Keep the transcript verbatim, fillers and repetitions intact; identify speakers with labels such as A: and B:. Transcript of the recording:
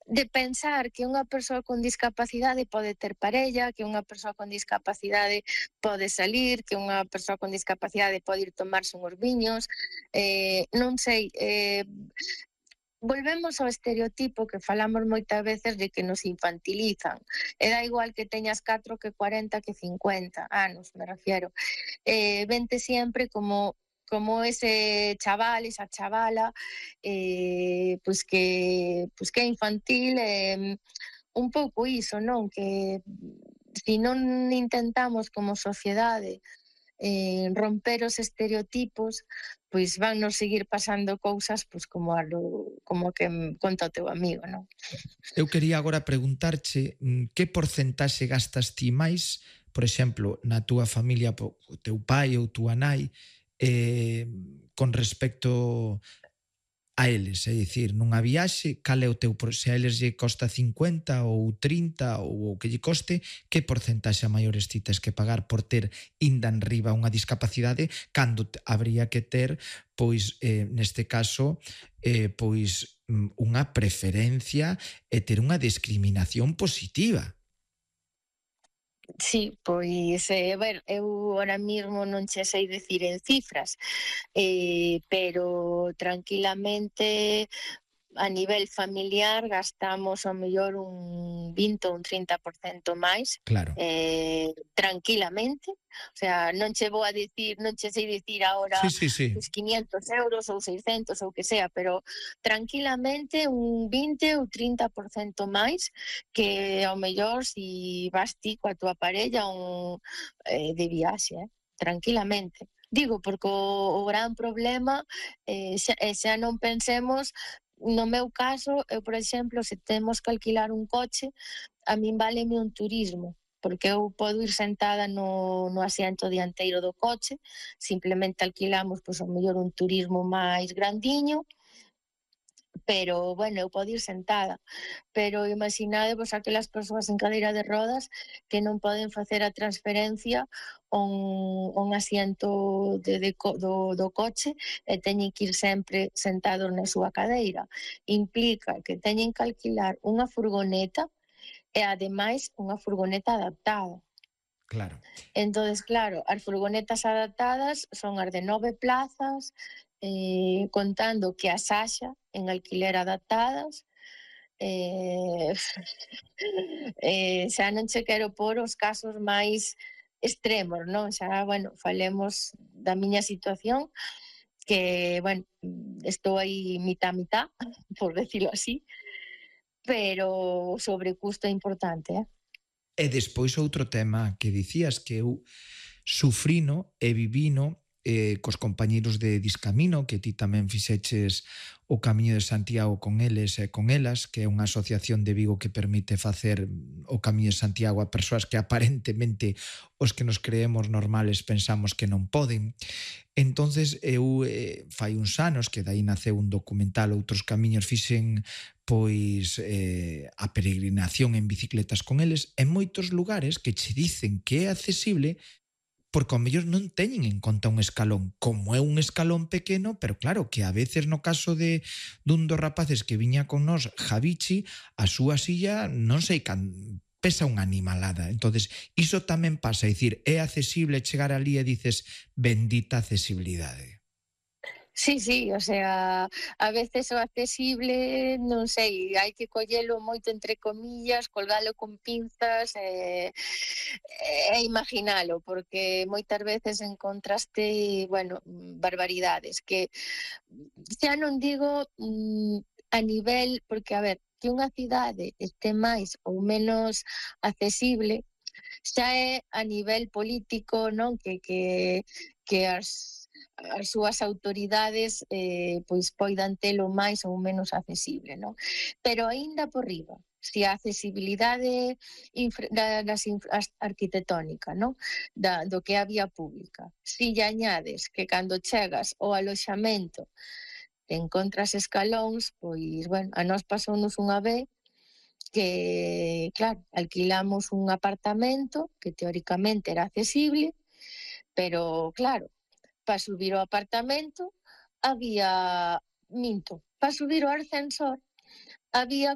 A: de pensar que unha persoa con discapacidade pode ter parella, que unha persoa con discapacidade pode salir, que unha persoa con discapacidade pode ir tomarse uns viños, eh, non sei, eh, volvemos ao estereotipo que falamos moitas veces de que nos infantilizan. E dá igual que teñas catro que cuarenta que cincuenta anos, me refiero. Eh, vente sempre como como ese chaval, esa chavala, eh, pois que pois que é infantil, eh, un pouco iso, non? Que se non intentamos como sociedade eh, romper os estereotipos, pois van nos seguir pasando cousas pois como a lo, como que conta o teu amigo, non?
B: Eu quería agora preguntarche mm, que porcentaxe gastas ti máis, por exemplo, na túa familia, po- o teu pai ou túa nai, eh, con respecto a eles, é dicir, nunha viaxe, cal é o teu, por- se a eles lle costa cincuenta ou trinta ou o que lle coste, que porcentaxe a maiores ti tes que pagar por ter inda en riba unha discapacidade cando te- habría que ter, pois, eh, neste caso, eh, pois, mm, unha preferencia e ter unha discriminación positiva.
A: Sí, pois, eh, bueno, eu ahora mismo non che sei dicir en cifras, eh, pero tranquilamente a nivel familiar gastamos ao mellor un vinte ou un trinta por cento máis,
B: Claro.
A: eh, tranquilamente. O sea, non che vou a dicir, non che sei dicir
B: Sí,
A: agora
B: sí, sí.
A: os quinientos euros ou seiscentos ou que sea, pero tranquilamente un vinte ou trinta por cento máis que ao mellor si vas ti coa tua parella un, eh, de viaxe, eh? Tranquilamente. Digo, porque o, o gran problema, eh, xa, eh, xa non pensemos, no meu caso, eu, por exemplo, se temos que alquilar un coche, a min váleme un turismo, porque eu podo ir sentada no, no asiento dianteiro do coche, simplemente alquilamos, pois, ao mellor un turismo máis grandiño, pero, bueno, eu podo ir sentada. Pero imaginadevos aquelas persoas en cadeira de rodas que non poden facer a transferencia a un, a un asiento de, de, do, do coche e teñen que ir sempre sentados na súa cadeira. Implica que teñen que alquilar unha furgoneta e, ademais, unha furgoneta adaptada.
B: Claro.
A: Entonces, claro, as furgonetas adaptadas son as de nove plazas, eh, contando que as haxa en alquiler adaptadas, eh, eh, xa non che quero por os casos máis extremos, non? Xa, bueno, falemos da miña situación, que, bueno, estou aí mitad mitad, por decirlo así, pero o sobrecusto é importante, eh?
B: E despois outro tema que dicías que eu sufrino e vivino eh, cos compañeiros de Discamino, que ti tamén fixeches o Camiño de Santiago con eles e con elas, que é unha asociación de Vigo que permite facer o Camiño de Santiago a persoas que aparentemente os que nos creemos normales pensamos que non poden. Entonces eu eh, fai uns anos que dai naceu un documental, Outros Camiños, fixen pois eh, a peregrinación en bicicletas con eles en moitos lugares que che dicen que é accesible porque ao mellor non teñen en conta un escalón, como é un escalón pequeno, pero claro, que a veces no caso de dun dos rapaces que viña con nós, Javichi, a súa silla non sei can pesa unha animalada. Entonces, iso tamén pasa, é dicir, é accesible chegar ali e dices, bendita accesibilidade.
A: Sí, sí, o sea, a veces o accesible, non sei, hai que collelo moito entre comillas, colgalo con pinzas e, e imaginalo, porque moitas veces encontraste, bueno, barbaridades, que xa non digo mm, a nivel, porque a ver, que unha cidade este máis ou menos accesible, xa é a nivel político, non? Que, que, que as as súas autoridades eh, pois poidan telo máis ou menos accesible, non? Pero aínda por riba, se a accesibilidade infra, da, das infra, arquitectónica, non? Da, do que a vía pública, si lle añades que cando chegas ao aloxamento te encontras escalóns, pois, bueno, a nós pasounos unha vez que, claro, alquilamos un apartamento que teóricamente era accesible, pero, claro, para subir ao apartamento había, minto, para subir ao ascensor había